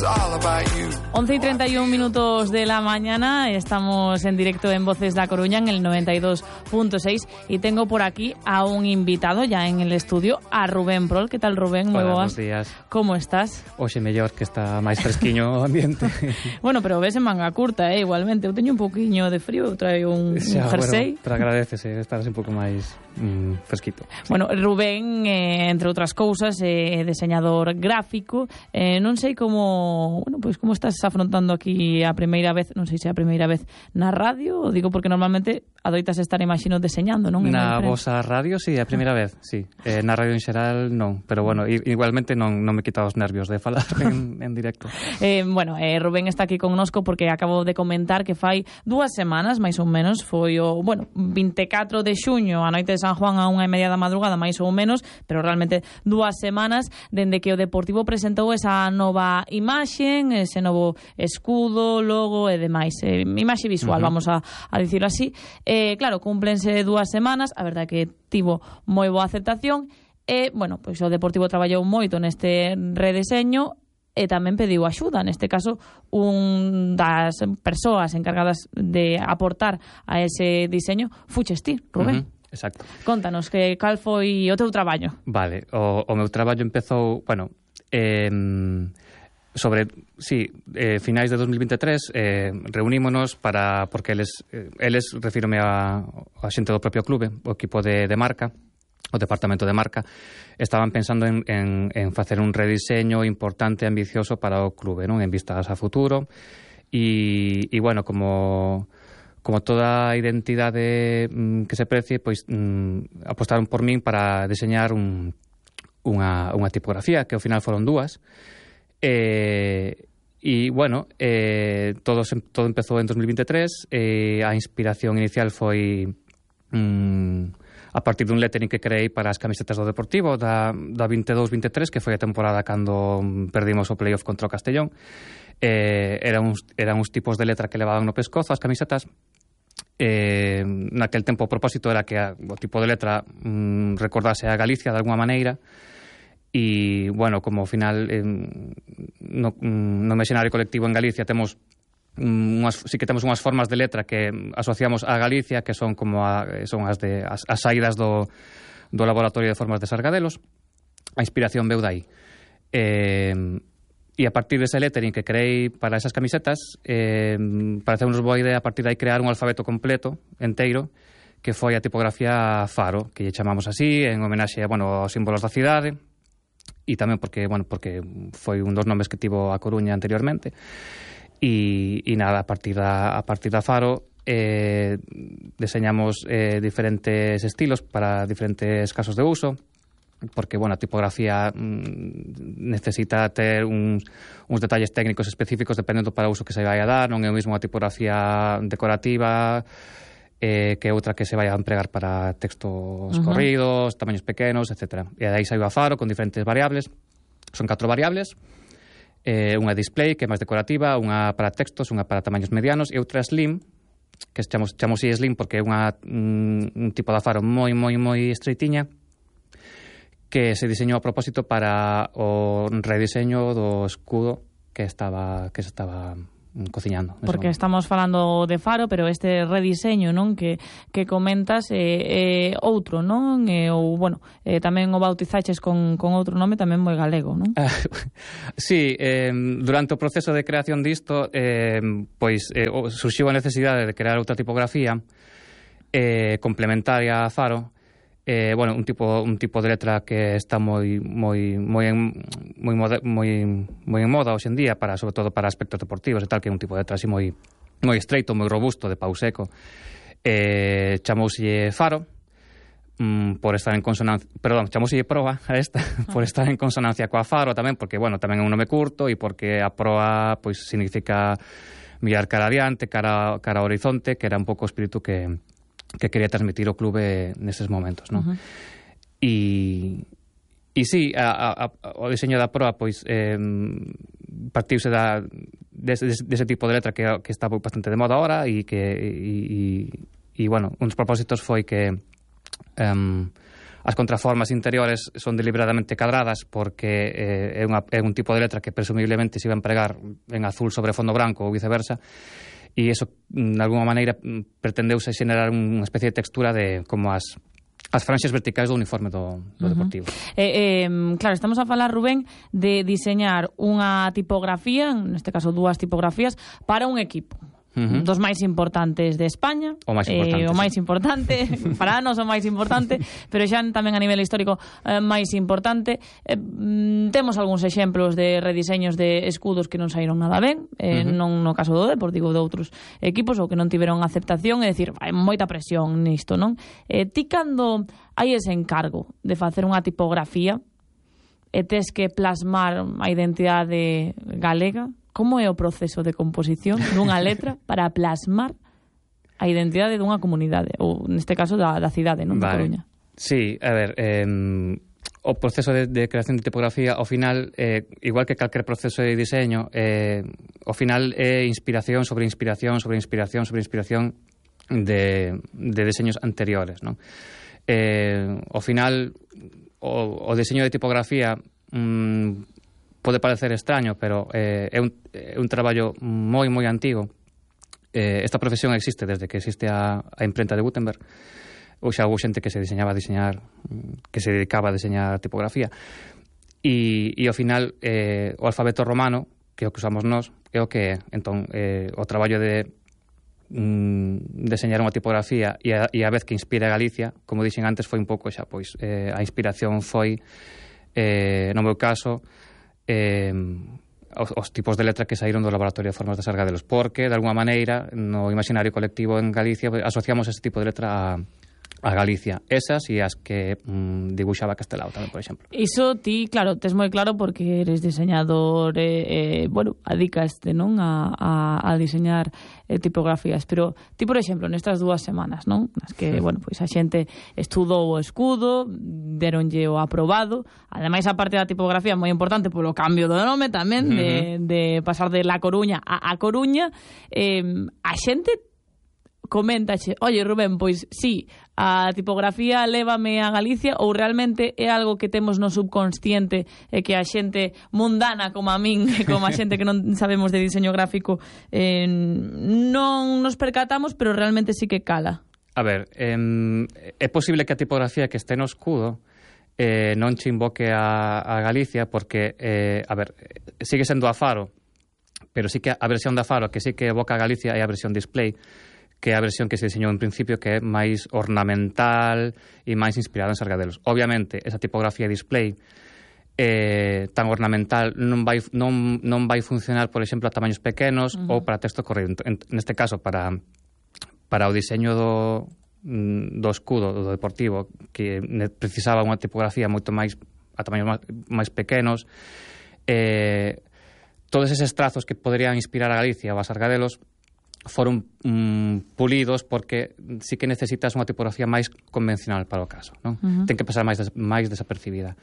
11:31 de la mañana, estamos en directo en Voces da Coruña en el 92.6 y tengo por aquí a un invitado ya en el estudio, a Rubén Prol. Que tal, Rubén? Moi boas. Buenos días. Como estás? Hoxe mellor, que está máis fresquiño o ambiente. Bueno, pero ves en manga curta, igualmente. Eu teño un poquinho de frío, traio un jersey. Bueno, pero agradecese estar así un pouco máis fresquito. Bueno, Rubén, entre outras cousas, é deseñador gráfico. Non sei como, bueno, pois como estás afrontando aquí a primeira vez, non sei se é a primeira vez na radio, o digo porque normalmente adoitas estar, imagino, deseñando, non? Na vosa radio, sí, a primeira vez, sí. Na radio en xeral, non. Pero, bueno, igualmente non me quita os nervios de falar en directo. Bueno, Rubén está aquí connosco porque acabo de comentar que fai 2 semanas, máis ou menos, foi o, bueno, 24 de xuño, a noite de San Juan a 1:30 da madrugada, máis ou menos, pero realmente 2 semanas, dende que o Deportivo presentou esa nova imaxe, ese novo escudo, logo e demais. Imaxe visual, vamos a dicirlo así. Claro, cúmplense 2 semanas, a verdade que tivo moi boa aceptación e, bueno, pois o Deportivo traballou moito neste redeseño e tamén pediu axuda, neste caso un das persoas encargadas de aportar a ese diseño fuches ti, Rubén. Exacto. Contanos que cal foi o teu traballo. Vale, o meu traballo empezou, bueno, finais de 2023 reunímonos porque eles refírome a xente do propio clube, o equipo de marca, o departamento de marca, estaban pensando en facer un rediseño importante e ambicioso para o clube, non? En vistas a futuro e bueno, como toda identidade que se precie, pois apostaron por min para diseñar unha tipografía, que ao final foron 2. E, bueno, todo empezou en 2023. A inspiración inicial foi a partir dun lettering que creei para as camisetas do Deportivo da 22-23, que foi a temporada cando perdimos o playoff contra o Castellón. Eran uns tipos de letra que levaban no pescozo as camisetas. Naquel tempo o propósito era que o tipo de letra recordase a Galicia de alguma maneira. E, bueno, como ao final no imaxinario colectivo en Galicia temos sí que temos unhas formas de letra que asociamos a Galicia, que son como as saídas do laboratorio de formas de Sargadelos. A inspiración veu dai. E a partir dese lettering que creei para esas camisetas, pareceunos boa idea a partir de aí crear un alfabeto completo, enteiro, que foi a tipografía Faro, que lle chamamos así, en homenaxe aos símbolos da cidade. E tamén porque foi un dos nomes que tivo a Coruña anteriormente. E nada, a partir da Faro deseñamos diferentes estilos para diferentes casos de uso, porque, a tipografía necesita ter uns detalles técnicos específicos dependendo para o uso que se vai a dar. Non é o mesmo a tipografía decorativa que outra que se vai a empregar para textos corridos, tamaños pequenos, etc. E aí saiu a Faro con diferentes variables. Son 4 variables. Unha display, que é máis decorativa, unha para textos, unha para tamaños medianos e outra slim, que chamamos slim porque é un tipo de Faro moi estreitiña, que se diseñou a propósito para o rediseño do escudo que se estaba cociñando. Porque estamos falando de Faro, pero este rediseño, non, que comentas é outro, non? Tamén o bautizaches con outro nome tamén moi galego, non? Sí, durante o proceso de creación disto, surxiu a necesidade de crear outra tipografía complementaria a Faro. Un tipo de letra que está moi en moda hoxe en día, sobre todo para aspectos deportivos e tal, que é un tipo de letra así moi estreito, moi robusto, de pau seco. Chamouselle Faro por estar en consonancia, chamouselle Proa a esta, por estar en consonancia coa Faro tamén, porque, tamén é un nome curto e porque a Proa, pois, significa mirar cara adiante, cara ao horizonte, que era un pouco o espírito que quería transmitir o clube neses momentos, non? E sí, o diseño da Proa, pois, partiuse dese tipo de letra que está bastante de moda ahora un dos propósitos foi que As contraformas interiores son deliberadamente cadradas porque é un tipo de letra que presumiblemente se iba a empregar en azul sobre fondo branco ou viceversa, e iso, de alguma maneira, pretendeuse xenerar unha especie de textura de como as franxas verticais do uniforme do Deportivo. Claro, estamos a falar, Rubén, de diseñar unha tipografía, neste caso 2 tipografías, para un equipo. Dos máis importantes de España, o máis importante, para nós o máis importante, pero xa tamén a nivel histórico máis importante. Temos algúns exemplos de rediseños de escudos que non saíron nada ben, non no caso do Deportivo, de outros equipos, ou que non tiveron aceptación, é dicir, hai moita presión nisto, non? Ti cando hai ese encargo de facer unha tipografía e tes que plasmar a identidade galega, como é o proceso de composición dunha letra para plasmar a identidade dunha comunidade, ou neste caso da cidade, non? Da Coruña. Sí, a ver, o proceso de creación de tipografía, ao final, igual que calquer proceso de diseño, ao final é inspiración sobre inspiración sobre inspiración sobre inspiración de diseños anteriores, non? Ao final, o diseño de tipografía pode parecer extraño, pero é un traballo moi antigo. Esta profesión existe desde que existe a imprenta de Gutenberg. Ou xa houve xente que se dedicaba a diseñar tipografía. E ao final, o alfabeto romano, que é o que usamos nós, é o que é. Entón, o traballo de deseñar unha tipografía e a vez que inspira a Galicia, como dixen antes, foi un pouco xa, pois, a inspiración foi, no meu caso, os tipos de letra que saíron do Laboratorio de Formas de Sargadelos, porque, de alguma maneira, no imaginario colectivo en Galicia asociamos ese tipo de letra a Galicia. Esas e as que dibuixaba Castelao tamén, por exemplo. Iso ti, claro, tes moi claro porque eres diseñador, bueno, adicaste, non, a diseñar tipografías, pero ti, por exemplo, nestas 2 semanas, non, nas que, bueno, pois a xente estudou o escudo, deronlle o aprobado, ademais a parte da tipografía moi importante polo cambio do nome tamén, de pasar de La Coruña a Coruña, a xente coméntache, oye, Rubén, pois sí, a tipografía lévame a Galicia, ou realmente é algo que temos no subconsciente e que a xente mundana como a min, como a xente que non sabemos de diseño gráfico, non nos percatamos, pero realmente sí que cala? A ver, é posible que a tipografía que este no escudo non che invoque a Galicia, porque, a ver, sigue sendo a Faro, pero sí que a versión da Faro que sí que evoca a Galicia é a versión display, que é a versión que se diseñou en principio, que é máis ornamental e máis inspirada en Sargadelos. Obviamente, esa tipografía display tan ornamental non vai funcionar, por exemplo, a tamaños pequenos ou para texto corrido. Neste caso, para o diseño do escudo do Deportivo, que precisaba unha tipografía moito máis a tamaños máis pequenos, todos eses trazos que poderían inspirar a Galicia ou a Sargadelos foron pulidos porque sí que necesitas unha tipografía máis convencional para o caso, non? Ten que pasar máis desapercibida.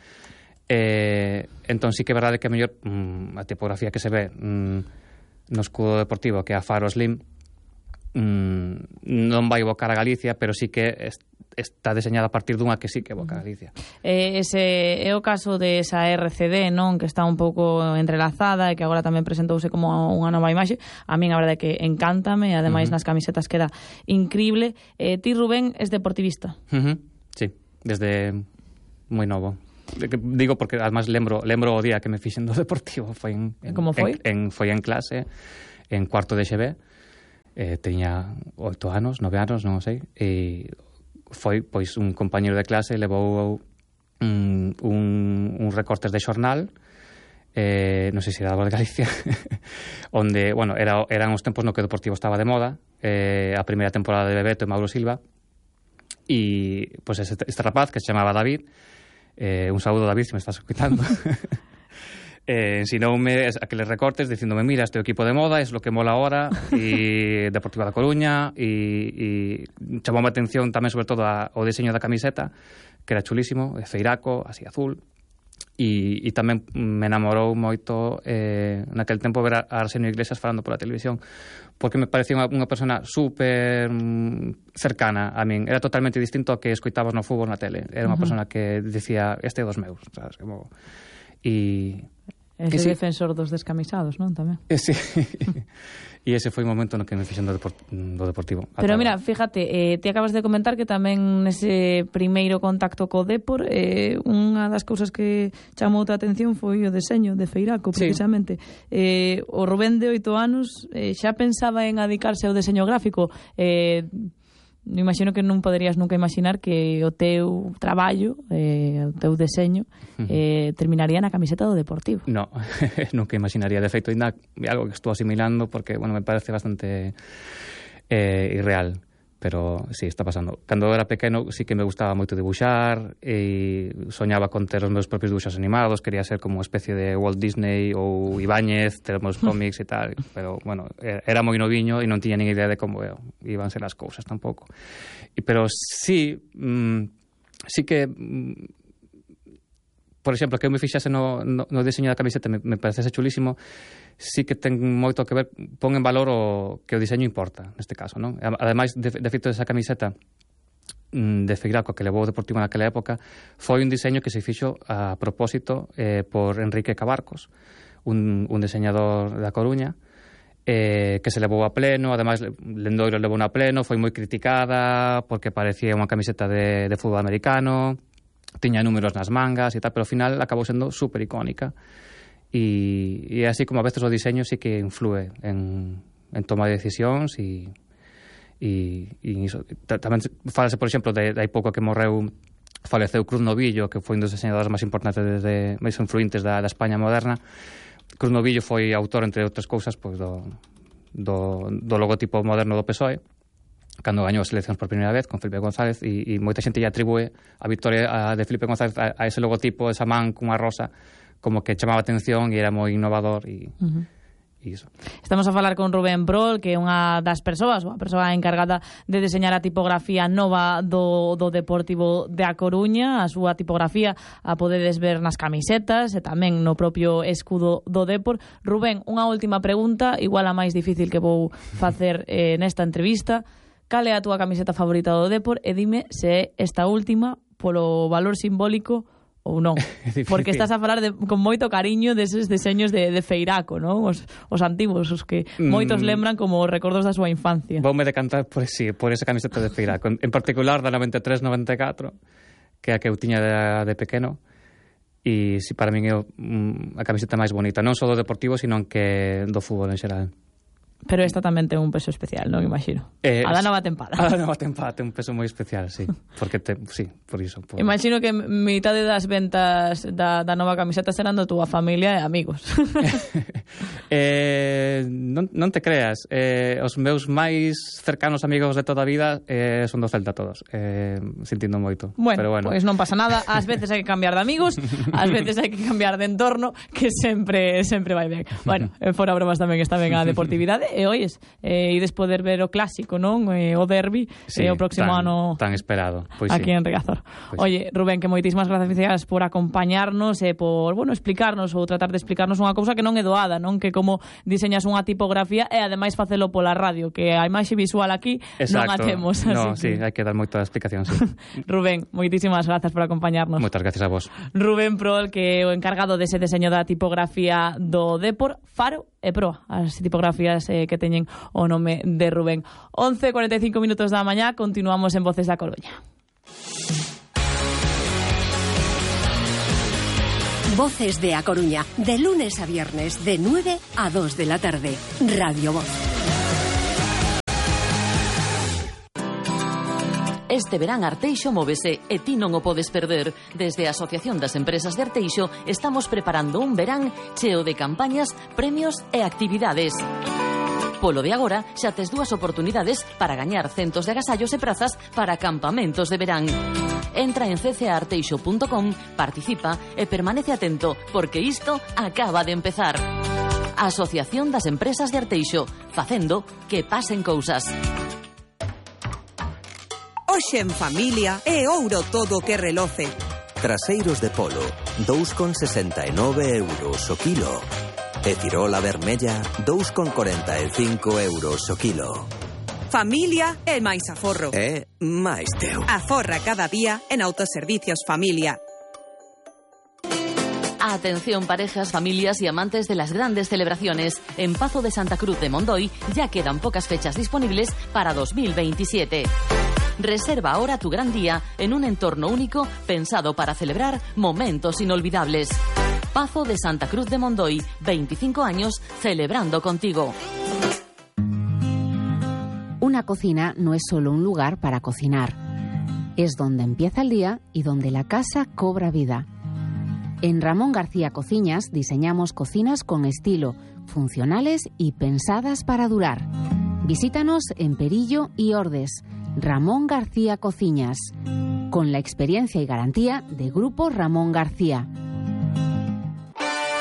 Entón sí que é verdade que a mellor a tipografía que se ve no escudo Deportivo, que é a Faro Slim, non vai evocar a Galicia, pero sí que está deseñada a partir dunha que sí que evoca a Galicia. Ese é o caso de esa RCD, non, que está un pouco entrelazada e que agora tamén presentouse como unha nova imaxe. A min a verdade que encántame, e ademais nas camisetas queda increíble. Ti, Rubén, es deportivista? Sí, desde moi novo. Digo porque además lembro o día que me fixen do Deportivo. Foi como foi? Foi en clase, en cuarto de XB. Teña 8 anos, 9 anos, non sei, e foi, pois, un compañero de clase levou un recortes de xornal, non sei se era da Voz de Galicia, onde, bueno, eran os tempos no que o Deportivo estaba de moda, a primeira temporada de Bebeto e Mauro Silva, e, pois, este rapaz que se chamaba David, un saúdo, David, se me estás escuitando, ensinoume aqueles recortes dicíndome, mira, este equipo de moda es lo que mola ahora, e Deportiva da Coruña, e chamou a atención tamén sobre todo o diseño da camiseta, que era chulísimo, feiraco, así azul, E tamén me enamorou moito naquel tempo ver a Arsenio Iglesias falando pola televisión, porque me parecía unha persona super cercana a min. Era totalmente distinto ao que escoitabas no fútbol na tele. Era unha persona que decía, este é dos meus, sabes? Como... Ese defensor dos descamisados, non? Tamén. Sí. E ese foi o momento no que me fixen do Deportivo. Pero mira, fíjate, ti acabas de comentar que tamén nese primeiro contacto co Depor, unha das cousas que chamou a atención foi o deseño de Feiraco, precisamente. Sí. O Rubén de 8 anos xa pensaba en adicarse ao deseño gráfico. Imagino que non poderías nunca imaginar que o teu traballo, o teu deseño, terminaría na camiseta do Deportivo. No, nunca imaginaría. De feito, ainda algo que estou asimilando porque, bueno, me parece bastante irreal. Pero sí, está pasando. Cando era pequeno sí que me gustaba moito dibuixar e soñaba con ter os meus propios dibuixos animados, quería ser como unha especie de Walt Disney ou Ibáñez, ter os meus cómics e tal, pero, bueno, era moi noviño e non tiña nin idea de como iban ser as cousas tampouco. Pero sí, sí que... Por exemplo, que eu me fixase no diseño da camiseta me parecese chulísimo, sí que ten moito que ver, pon en valor que o diseño importa, neste caso, non? Ademais, de feito desa camiseta de Feiraco que levou o Deportivo naquela época, foi un diseño que se fixo a propósito por Enrique Cabarcos, un diseñador da Coruña, que se levou a pleno. Ademais, Lendoiro levou a pleno, foi moi criticada porque parecía unha camiseta de fútbol americano, tiña números nas mangas e tal, pero ao final acabou sendo super icónica e así como a veces o diseño sí que influe en toma de decisións e iso. Tamén falase, por exemplo, de hai pouco que faleceu Cruz Novillo, que foi un dos diseñadores máis importantes máis influentes da España moderna. Cruz Novillo foi autor, entre outras cousas, pois do logotipo moderno do PSOE, cando gañou as eleccións por primeira vez con Felipe González, e moita xente lle atribúe a victoria de Felipe González a ese logotipo, esa man cunha rosa, como que chamaba atención e era moi innovador e iso. Estamos a falar con Rubén Prol, que é unha das persoas, a persoa encargada de deseñar a tipografía nova do Deportivo de A Coruña. A súa tipografía a podedes ver nas camisetas e tamén no propio escudo do Depor. Rubén, unha última pregunta, igual a máis difícil que vou facer nesta entrevista. Cal é a túa camiseta favorita do Depor e dime se é esta última polo valor simbólico ou non. Porque estás a falar con moito cariño deses deseños de Feiraco, non? Os antigos, os que moitos lembran como recordos da súa infancia. Voume decantar por esa camiseta de Feiraco, en particular da 93-94, que é a que eu tiña de pequeno, e si para min é a camiseta máis bonita, non só do Deportivo, sino que do fútbol en xeral. Pero esta tamén ten un peso especial, non imagino. A da nova tempada. A da nova tempada ten un peso moi especial, sí. Porque sí, por iso. Imagino que mitade das ventas da nova camiseta serán da túa familia e amigos. Non te creas. Os meus máis cercanos amigos de toda a vida son do Celta todos. Sentindo moito. Bueno, pois non pasa nada. Ás veces hai que cambiar de amigos, ás veces hai que cambiar de entorno, que sempre vai ben. Bueno, fora bromas tamén está ben a deportividade. E oies, ides poder ver o clásico, non? O derbi, sí, o próximo ano tan esperado, pois aquí sí. En Riazor. Pois Oye, Rubén, que moitísimas gracias por acompañarnos e por, explicarnos ou tratar de explicarnos unha cousa que non é doada, non? Que como diseñas unha tipografía e ademais facelo pola radio, que a imaxe visual aquí non a temos. No, sí, hai que dar moita explicación, sí. Rubén, moitísimas grazas por acompañarnos. Moitas gracias a vos. Rubén Prol, que é o encargado dese deseño da tipografía do Depor, Faro e Proa, as tipografías que teñen o nome de Rubén. 11:45 minutos da mañá, continuamos en Voces da Coruña. Voces de A Coruña, de lunes a viernes, de 9 a 2 de la tarde. Radio Voz. Este verán Arteixo móvese e ti non o podes perder. Desde a Asociación das Empresas de Arteixo estamos preparando un verán cheo de campañas, premios e actividades. Polo de agora, xa tes 2 oportunidades para gañar centos de agasallos e prazas para campamentos de verán. Entra en ccaarteixo.com, participa e permanece atento, porque isto acaba de empezar. Asociación das Empresas de Arteixo, facendo que pasen cousas. Hoxe en familia é ouro todo que reloce. Traseiros de polo, 2,69 euros o kilo. E cirola vermella, 2,45 euros o kilo. Familia e máis aforro. E máis teu. Aforra cada día en Autoservicios Familia. Atención parejas, familias y amantes de las grandes celebraciones. En Pazo de Santa Cruz de Mondoy ya quedan pocas fechas disponibles para 2027. Reserva ahora tu gran día en un entorno único pensado para celebrar momentos inolvidables. Pazo de Santa Cruz de Mondoy, 25 años celebrando contigo. Una cocina no es solo un lugar para cocinar. Es donde empieza el día y donde la casa cobra vida. En Ramón García Cociñas diseñamos cocinas con estilo, funcionales y pensadas para durar. Visítanos en Perillo y Ordes. Ramón García Cociñas, con la experiencia y garantía de Grupo Ramón García.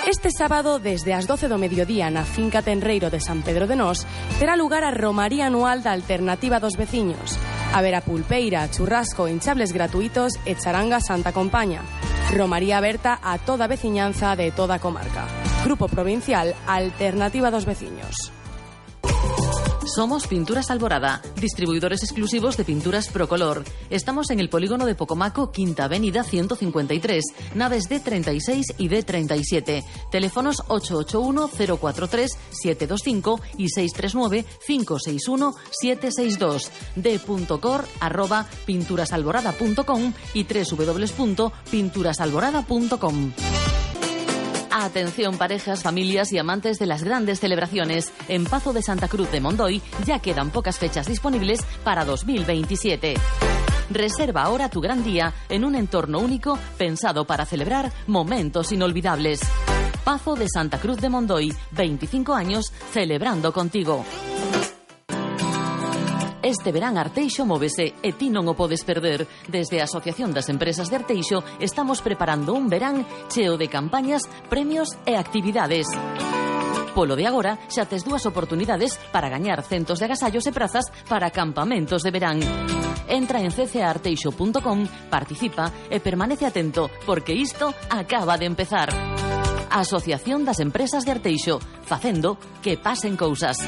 Este sábado, desde as 12 do mediodía na finca Tenreiro de San Pedro de Nós, terá lugar a Romaría Anual da Alternativa dos Veciños. Haberá pulpeira, churrasco, hinchables gratuitos e charanga Santa Compaña. Romaría aberta a toda a veciñanza de toda a comarca. Grupo Provincial Alternativa dos Veciños. Somos Pinturas Alborada, distribuidores exclusivos de pinturas Procolor. Estamos en el polígono de Pocomaco, Quinta Avenida 153, naves D36 y D37. Teléfonos 881-043-725 y 639-561-762. d.cor@pinturasalborada.com y www.pinturasalborada.com. Atención parejas, familias y amantes de las grandes celebraciones. En Pazo de Santa Cruz de Mondoy ya quedan pocas fechas disponibles para 2027. Reserva ahora tu gran día en un entorno único pensado para celebrar momentos inolvidables. Pazo de Santa Cruz de Mondoy, 25 años celebrando contigo. Este verán Arteixo móvese e ti non o podes perder. Desde a Asociación das Empresas de Arteixo estamos preparando un verán cheo de campañas, premios e actividades. Polo de agora xa tes dúas oportunidades para gañar centos de agasallos e prazas para campamentos de verán. Entra en ccaarteixo.com, participa e permanece atento porque isto acaba de empezar. Asociación das Empresas de Arteixo, facendo que pasen cousas.